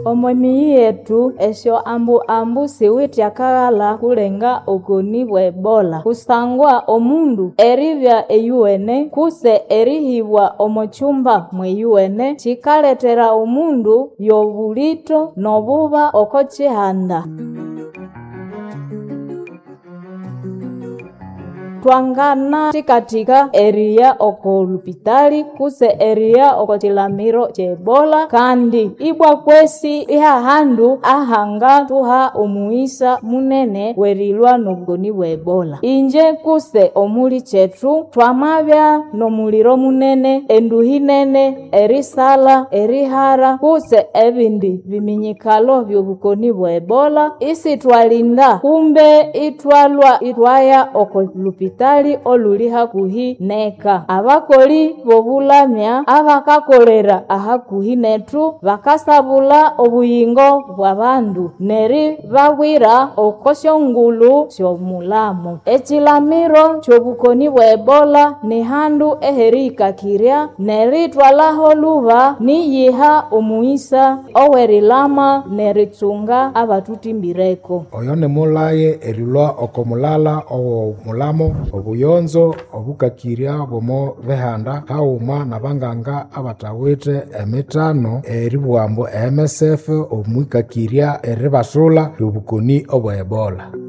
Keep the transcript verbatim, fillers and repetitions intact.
Omo miyi yethu esyo ambu ambu siwithe akaghalha kulenga obukoni bwe Ebola kusangwa omundu eribya eyuwene kutse erihibwa omo kyumba mweyuwene kyikalethera omundu yobulitho nobuba oko kyihanda. Twanganathikathika eriya oko lupitali kutse eriya oko kyilamiro kye Ebola kandi ibwa kwesi ihahandu ahangathuha omughisa munene werilhwa nobukoni bwe Ebola. Ingye kutse omulikyethu thwamabya nomuliro munene, enduhi nene, erisalha, erihara kutse ebindi biminyikalo byobukoni bwe Ebola isithwalinda kumbe ithwalhwa ithwaya oko lupitali olhuli hakuhi neka. Abakoli bobulamya abakakolera ahakuhi nethu bakasabulha obuyingo bwabandu neribabwira oko syongulhu syomulamo. Ekyilamiro kyobukoni bwe Ebola nihandu eherihikakirya nerithwalhaho lhuba niyiha omughisa owerilama neritsunga abathuthimbireku. Oyo nimulhaye erilhwa oko mulala owo mulamo obuyonzo obukakirya bwomo bihanda haghuma nabanganga abathawithe emithano eribugha ambu e M S F omwikakirya eribasulha lyobukoni obwe Ebola.